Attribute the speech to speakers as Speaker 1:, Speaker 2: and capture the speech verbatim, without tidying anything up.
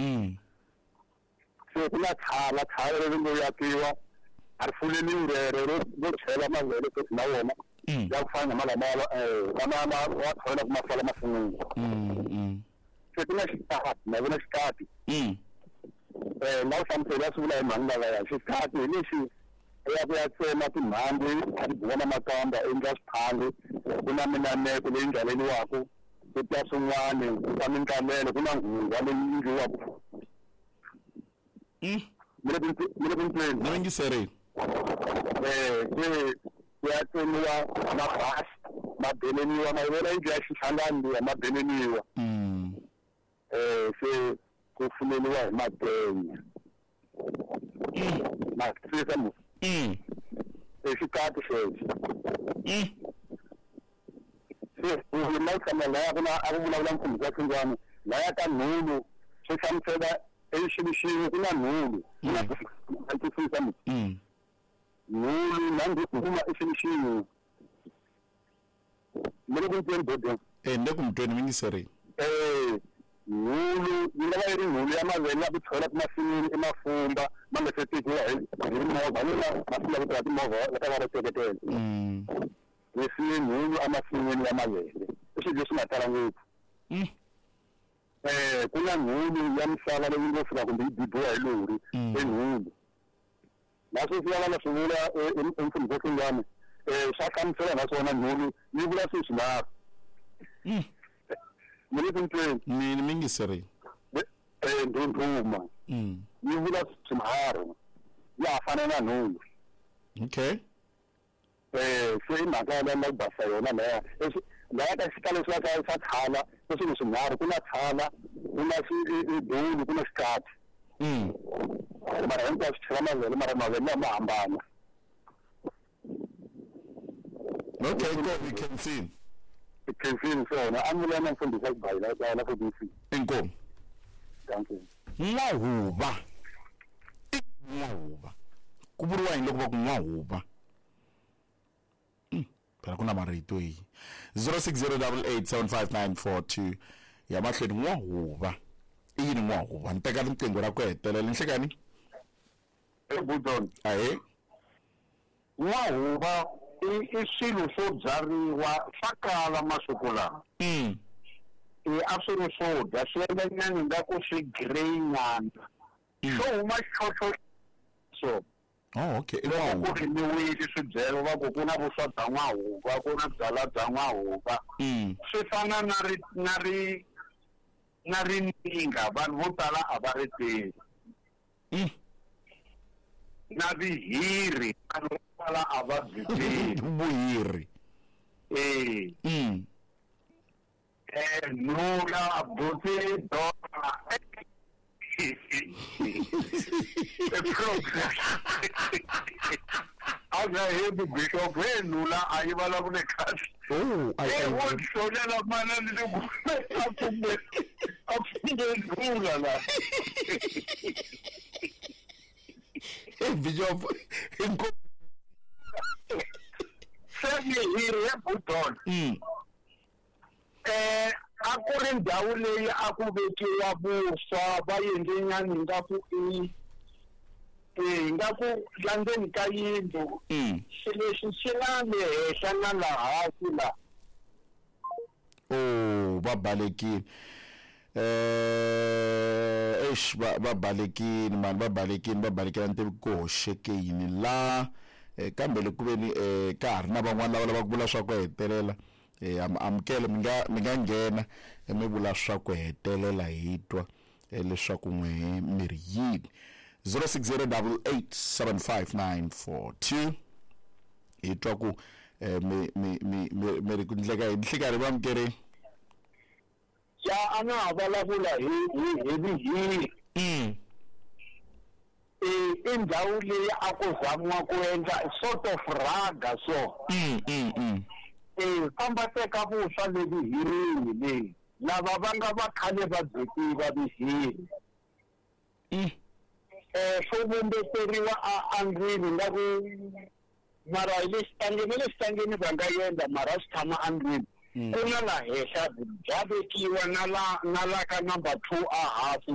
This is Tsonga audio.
Speaker 1: Mm.
Speaker 2: Se ku na tshala tshala leri ngo yakiwa a ri fuleliwi rero ro ro chela mavele futhi na wona
Speaker 1: Mm.
Speaker 2: ya ku fana na malama eh lama ma wa tshovela ku ma sala masin'wini.
Speaker 1: Mm. Mm.
Speaker 2: Se ku na xikati na vona xikati
Speaker 1: Mm.
Speaker 2: eh na u hlamusela swi vula hi mhani lavaya xikati hi lexi ya ku ya tsema timhandzi a ti biwa na makamba endla swiphangi ku na minameko leyi ndlaleliwaku ku ta swin'wani ku ta mintlamelo ku na nghungwa leyi endliwaku
Speaker 1: Mm.
Speaker 2: mi le ku mi le ku ntweni
Speaker 1: Na yingiserile.
Speaker 2: eh se ku ya tsemiwa mabasi ma beleniwa ma vona yindlu ya xihlangani liya ma beleniwa
Speaker 1: Mm.
Speaker 2: eh se ku fuleliwa hi matenya ma twisisa mu
Speaker 1: Mm.
Speaker 2: i xikati xexo
Speaker 1: Mm.
Speaker 2: se na ku hlamula laya ku na a ku vulavula mfundhisi wa Xingwana laya ka nhulu swi hlamusela exivixini ku na nhulu ku na ma twisisa mu
Speaker 1: Mm.
Speaker 2: nhulu na ndhuma i xilo xin'we mi le ku ntweni bodeni
Speaker 1: Eh ni le ku mi tweni mi yingiserile.
Speaker 2: eh nhulu yi nga va yi ri nhulu ya mavele ya ku tshovela emasin'wini i mafumba ma nga se tekiwa hi hi mimovha ni la masiku la ku tirha timovha va ta va ri teketela
Speaker 1: Mm.
Speaker 2: hi siye nhulu emasin'wini ya mavele i swilo leswi nga tala ngopfu
Speaker 1: Mm.
Speaker 2: eh ku na nhulu ya misava leyi ngo fika kumbe yi bibiwa hi lori
Speaker 1: Mm.
Speaker 2: i nhulu na sweswi va nga swi vula emfundhisi wa Xingwana eh swa hlamusela naswona nhulu yi vula swilo swinharhu
Speaker 1: Mm.
Speaker 2: mi le ku ntweni
Speaker 1: Mi mi yingiserile.
Speaker 2: eh ndhundhuma
Speaker 1: Mm.
Speaker 2: yi vula swinharhu ya ha fana na nhulu
Speaker 1: Okay.
Speaker 2: eh se i mhaka ya la ku basa yona laya laya ka xikalo swa swa swa tshala i swilo swinharhu ku na tshala ku na dulu ku na xikati
Speaker 1: Mm.
Speaker 2: mara hinkwaswo chela mavele mara mavele lama hambana
Speaker 1: Okay, go we can see.
Speaker 2: tikhensini swona a ni vula na mfundhisi wa xibayila la ku dc
Speaker 1: Inkomu.
Speaker 2: thank you
Speaker 1: N'wahuva. I n'wahuva. Ku vuriwa yini loko va ku n'wahuva? Mm, phela ku na marito yi. zero six zero double eight seven five nine four two ya mahlweni n'wahuva. I yini n'wahuva? Ni teka riqingho ra ku hetelela nhlekani.
Speaker 2: ebudon
Speaker 1: Ahee.
Speaker 2: n'wahuva i i swilo swo byariwa swa kala masiku lawa
Speaker 1: Mm.
Speaker 2: e a swi ri swo dya swi endla nyana ingaku swi grey nyana swo huma xoxo so
Speaker 1: Oh, okay. I
Speaker 2: loko ku
Speaker 1: n'wahuva.
Speaker 2: rimiwile swibyelo va ku ku na vuswa bya n'wahuva ku na byalwa bya n'wahuva
Speaker 1: Mm.
Speaker 2: swi fana na ri na ri na rininga vanhu vo tala a va ri tivi
Speaker 1: Mm.
Speaker 2: na vihiri vanhu vo tala a va byi tivi
Speaker 1: Vuhiri.
Speaker 2: eh
Speaker 1: Mm.
Speaker 2: eh nula buti dora a nga hembi bishop he nula a yi vulavule kahle
Speaker 1: Oh, I
Speaker 2: e wo
Speaker 1: I
Speaker 2: hlolela manani le ku a pfumbe a pfumbe nula la
Speaker 1: Hey, Bishop. Inkomu.
Speaker 2: se mihiri ya budon
Speaker 1: Mm.
Speaker 2: eh a ku ri ndhawu leyi a ku vekiwa vuswa va endle nyana ingaku i eh ingaku la ndzeni ka yindlu
Speaker 1: Mm.
Speaker 2: xilo lexi xi na le henhla na la hansi la
Speaker 1: Oh, va balekile. Eh, eish va va balekile mani va balekile va balekile ni tivi ku hoxeke yini la eh, kambe loko ku ve ni eh, ka ha ri na van'wani lava lavaka ku vula swa ku hetelela eh, am amukele mi nga mi nga nghena eh, mi vula swa ku hetelela hi twa eh, leswaku n'we mi ri yini zero six zero double eight seven five nine four two hi twa ku eh, mi mi mi mi mi ri ku ndleka hi nhlikani va amukerini
Speaker 2: ya a na ha vulavula hi hi hi vihiri
Speaker 1: mm.
Speaker 2: eh i ndhawu leyi a ku zamiwa ku endla sort of rhaga so
Speaker 1: Mm, mm, mm.
Speaker 2: eh famba teka vuswa le vihirini leyi lava va nga va khale va byi tiva vihiri
Speaker 1: Mm.
Speaker 2: eh swo vumbeteriwa a andlwini nga ku mara hi le xitangeni le xitangeni va nga endla mara swi tshama andlwini
Speaker 1: Mm.
Speaker 2: ku na la henhla bya vekiwa na la na la ka number two a hansi